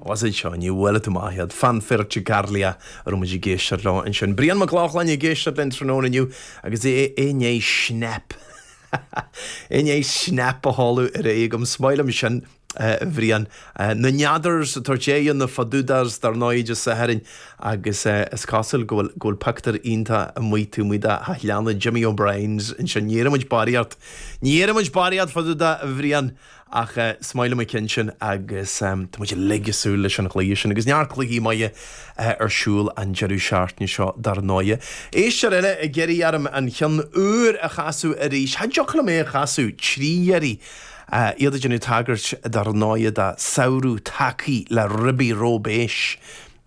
Was é seo, ní bhuailfidh tú amach iad. Fanfare Ciarghusa a raibh muid ag éisteacht leo ansin. Brian Mac Lochlainn ag éisteacht linn tráthnóna inniu agus é i ndiaidh snap. I ndiaidh snap a sheoladh ar aghaidh agam. Is maith liom sin, a Bhriain. Na Neadars ag tabhairt aghaidh ar na Fadúdaghs dar ndóigh Dé Sathairn agus is cosúil go bhfuil go bhfuil pictiúr iontach amuigh taobh amuigh de theach Jimmy O'Brien's ansin. Ní iarrann muid barraíocht. Ní iarrann muid barraíocht fá dtaobh de, a Bhriain. Ach is maith liom an ceann sin agus tá muid uilig ag súil leis an chluiche sin agus neart cluichí maithe ar siúl an deireadh seachtaine seo dar ndóighe. Éisteoir eile ag iarraidh orm an ceann úr a chasadh arís. Cha dtiocfadh liom é a chasadh trí iarraidh. Iad ag déanamh tagairt dar ndóighe do Samhradh Tagthaí le Ribi Róibéis.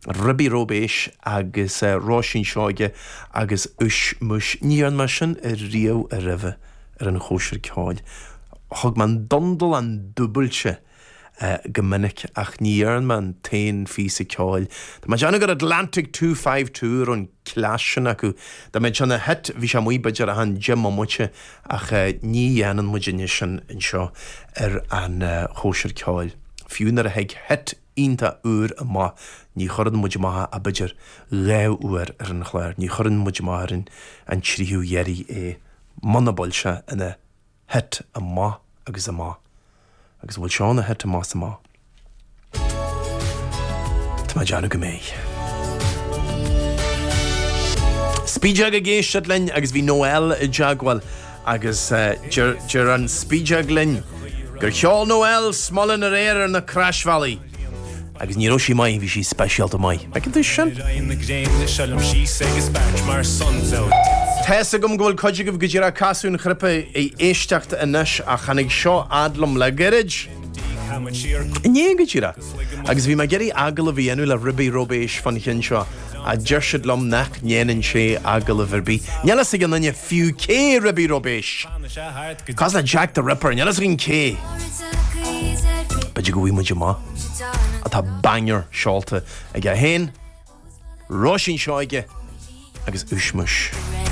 Ribi Róibéis agus Róisín Seoige agus Úis Múis. Ní dhearna mé sin riamh roimhe ar an chóisir ceoil. Thug mé an dundalán dúbailte go minic ach ní dhearna mé an t-aon phíosa ceoil. Tá mé ag déanamh gur Atlantic 252 a raibh an cleas sin acu. Dá mbeadh sé ina hit bhí sé amuigh b'fhéidir achan 10 mbomaite ach ní dhéanann muid anois sin anseo ar an chóisir ceoil. Fiú nuair a thig hit iontach úr amach, ní chuireann muid amach ach b'fhéidir dhá uair ar an chlár, ní chuireann muid amach ar an tríú iarraidh é, muna bhfuil sé ina hit amach agus amach. Agus an bhfuil seo ina hit amach is amach? Tá mé ag déanamh go mbeidh. Spideog ag éisteacht linn agus bhí Noel i dteagmháil Agus deir an spideog linn gur cheol Noel Smullen aréir ar na croisbhealaí agus ní raibh sí maith, bhí sí speisialta maith. Feiceann tú sin? Tá's agam go bhfuil cuid agaibh go díreach ag casadh an chnaipe ag éisteacht anois ach tháinig seo fhad liom le gairid. Inné go díreach. Agus bhí mé ag iarraidh agallamh a dhéanamh le Ribi Róibéis fán cheann seo ach deir siad liom nach ndéanann sé agallamh ar bith. Níl fhios ag aon duine fiú cé Ribi Róibéis. Cosúil le Jack the Ripper, níl fhios againn cé. B'fhéidir go bhfaighidh muid amach. Ach tá banger seolta aige féin, Róisín Seoige agus Úis Múis.